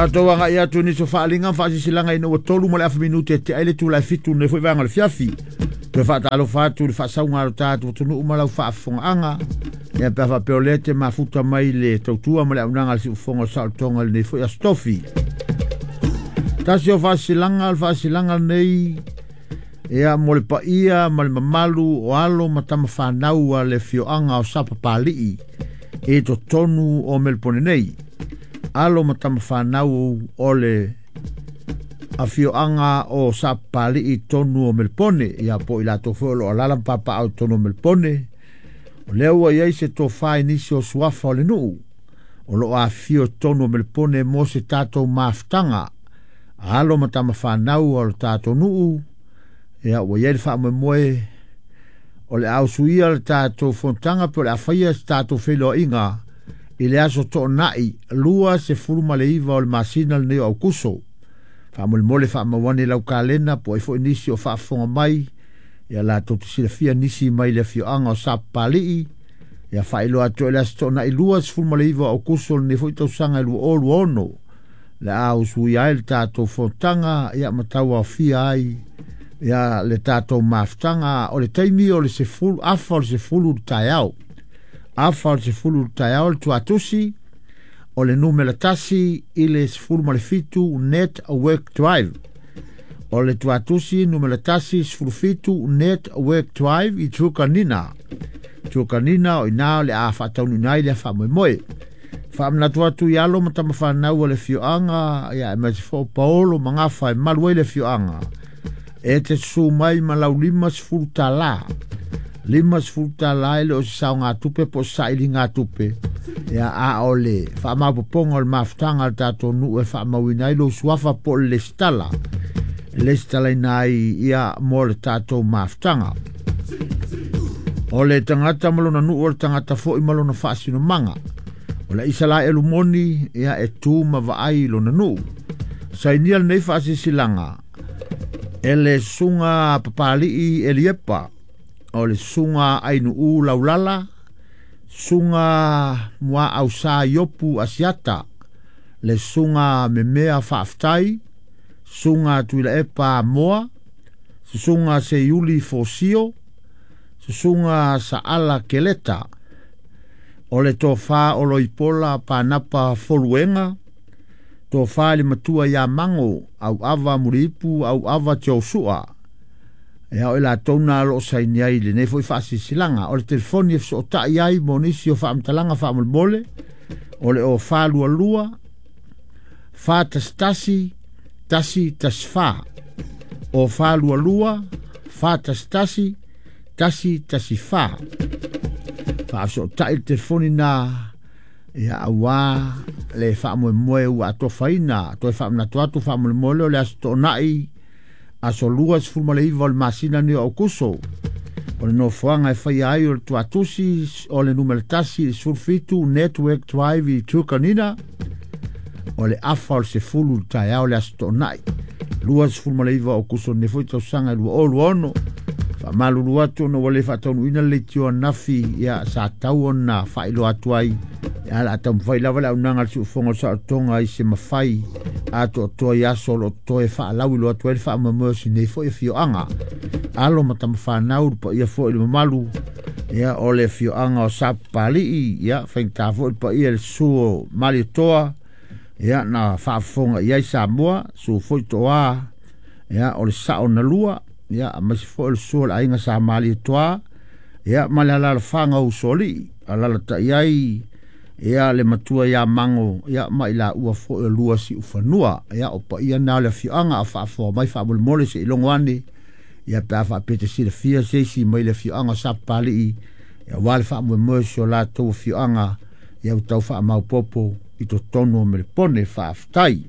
Tatou agai atu nisi o faaaliga ma faasilasilaga ina ua 3 ma le afa minute e tea ai le itula e 7 lenei foi vaega o le fiafi. Toe faatalofa atu i le faasauga a lo tatou atunuu ma lau faafofogaaga. Ia pe a faapea o lea te mafuta mai le tautua ma le auaunaga a le siufofoga o le saolotoga i lenei foi aso tofi. Tasi o faasilaga o le faasilaga lenei ia mo le paia ma le mamalu o alo ma tamafanau a le afioaga o Sapapalii i totonu o Melipone nei. Alo ma tamafanau o le afioaga o Sapapalii i totonu o Melipone, ia po i latou foi o lo o alaala ma papaaao i totonu o Melipone. O lea ua i ai se tofa i nisi o suafa o le nuu o lo o afifio i totonu o Melipone mo se tatou mafutaga alo ma tamafanau o le tatou nuu. Ia ua i ai le faamoemoe o le a usuia le tatou fonotaga pe o le a faia se tatou feiloaiga i le aso Toonai 29 o le masina lenei o Aukuso. Faamolemole faamauane lau kalena po o ai foi nisi o faafofoga mai ia latou te silafia nisi mai le afioaga o Sapapalii. Ia faailoa atu ai le aso Toonai 29 o Aukuso lenei foi tausaga e 2026 le a usuia ai le tatou fonotaga ia ma tauaofia ai ia le tatou mafutaga. O le taimi o le 10 afa o le 10 i le taeao, afa o le 10 i le taeao. Le tuatusi o le numera 1 i le 17 Network Drive. O le tuatusi numera 1 17 Network Drive i Trukanina. Trukanina o ina o le a faataunuuina ai le faamoemoe. Faamanatu atu i alo ma tamafanau o le afioaga ia aemaise foi o paolo ma gafa e malu ai le afioaga e te susu mai ma lau $50. $50 e le o se saogatupe po o se sailiga tupe, ia a o le faamaopoopoga o le mafutaga a le tatou nuu e faamauina ai lou suafa po o le lesitala e lesitalaina ai ia mo le tatou mafutaga. O le tagata ma lona nuu, o le tagata foi ma lona faasinomaga. O le Isalaelu moni ia e tu ma vaai i lona nuu. Sainia lenei faasilasilaga e le susuga Papalii Eliepa, o le susuga Ainuu Laulala, susuga Muaausa Iopu Asiata, le susuga Memea Faafetai, susuga Tuilaepa Amoa, susuga Seiuli Fosio, susuga Saala Keleta. O le tofa o Loipola Panapa Foluega, tofa i le matua ia Mago Auava Muliipu Auava Tiosua. Ia o i latou na o lo o saini ai lenei foi faasilasilaga. O le telefoni e fesootai ai mo nisi o faamatalaga faamolemole o le o 422 411 114, o 422 411 114. Faafesootai le telefoni na ia auā le faamoemoe ua atofaina. Toe faamanatu atu faamolemole o le aso Toonai aso 29 o le masina nei o Aukuso. O le nofoaga e faia ai o le tuatusi o le numera 1 i le 17 Network Drive i Trukanina. O le afa o le 10 i le taeao le aso Toonai 29 o Aukuso lenei foi tausaga e 2026. Faamalulu atu ona ua le faataunuuina le leitio ananafi ia sa tau ona faailoa atu ai. Ia o le a taumafai lava le auaunaga a le siufofoga o le saolotoga i se mafai atoatoa i aso o lo o totoe faalauiloa atu ai le faamoemoe o sinei foi afioaga. Alo ma tamafanau le paia foi i le mamalu ia o le afioaga o Sapapalii, ia faigata foi le paia i le susu o Malietoa ia na faafofoga i ai Samoa, susu foi Toa ia o le sao na lua, ia aemaise foi o le susu o le aiga sa Malietoa ia ma le alaalafaga o Usoalii, alalatai ai ia le matua ia Mago ia ma i laua foi o lua siufanua. Ia o paia na o le afioaga a faafofoga mai faamolemole se i logo ane ia pe a faapea te silafia se isi mai le afioaga o Sapapalii ia aua le faamoemoe o si o latou afioaga ia ua tau faamaopoopo i totonu o Melepone. Faafetai.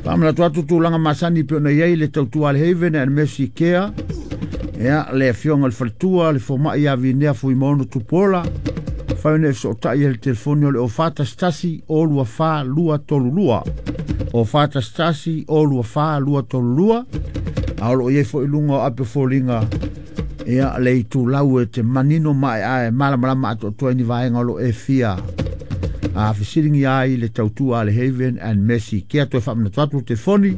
Faamanatu atu tulaga masani pei ona i ai le tautua a le Haven and Mercy Care. Ia le afioga i le faletua le fomai ia Vinea Fuimaono Tupuola fai ona e fesootai ai i le telefoni o le 0411 024 232, 0411 024 232. A o lo o i ai foi i luga o ape o foliga Ia le itulau e te manino maeae malamalama atoatoa i ni vaega o lo o e fia fesiligia ai le tautua a le Haven and Mercy. Kea toe faamanatu atu le telefoni.